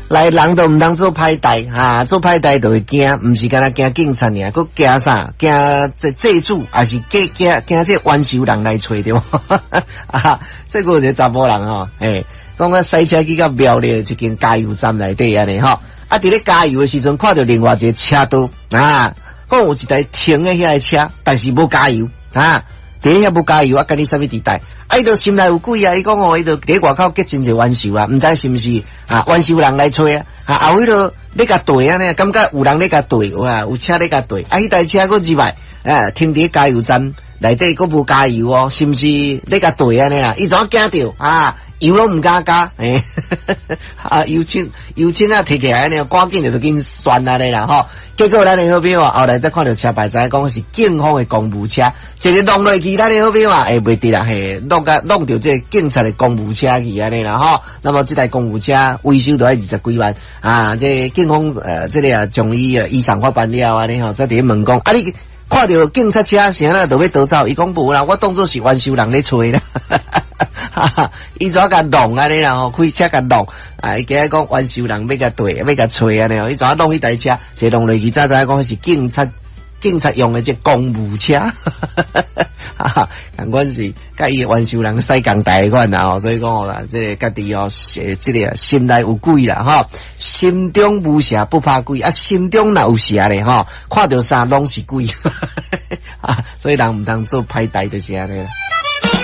來人都毋通做歹代，哈，做歹代就會驚，毋是干焦驚警察爾，閣驚啥？驚這債主，抑是驚驚驚這冤仇人來揣著？啊，這個有一个查埔人吼，欸，講我駛車去到苗栗一間加油站內底按呢吼，啊，佇咧加油的時陣，看著另外一个車道啊，講有一台停佇遐的車，但是無加油啊，佇遐無加油啊，干你啥物佇代？啊，伊就心內有鬼啊！伊講哦，伊就佇外口結真濟冤仇啊，毋知是毋是啊冤仇人來揣啊？啊，後彼落咧共綴按呢，感覺有人咧共綴，哇，有車咧共綴，啊，彼台車閣入來，啊，停佇加油站內底閣無加油哦，是毋是咧共綴按呢啦？伊怎驚著啊？油攏毋敢加，欸，啊，油槍油槍啊提起來按呢，趕緊就緊旋按呢啦吼。結果咱的好朋友後來才看著車牌，知影講是警方的公務車，一个弄落去，咱的好朋友啊，會袂得啦，嘿，弄共弄著這个警察的公務車去按呢啦吼。那麼這台公務車維修都愛二十幾萬啊！這個警方這个啊將伊移送法辦了按呢吼，才佇咧問講啊，你看著警察車是按怎就欲逃走？伊講無啦，我當做是冤仇人咧揣啦。哈哈，伊怎共弄按呢啦吼，開車共弄啊！伊驚講冤仇人欲共綴，欲共揣按呢吼，伊怎弄彼台車？一弄落去，才知影講是警察，警察用的這公務車，哈哈，仝款是佮伊冤仇人駛仝台款啦吼，所以講哦啦，這个家己哦，這个心內有鬼啦吼，心中無邪不怕鬼啊，心中若有邪咧吼，看著啥攏是鬼，啊，所以人毋通做歹代就是按呢啦。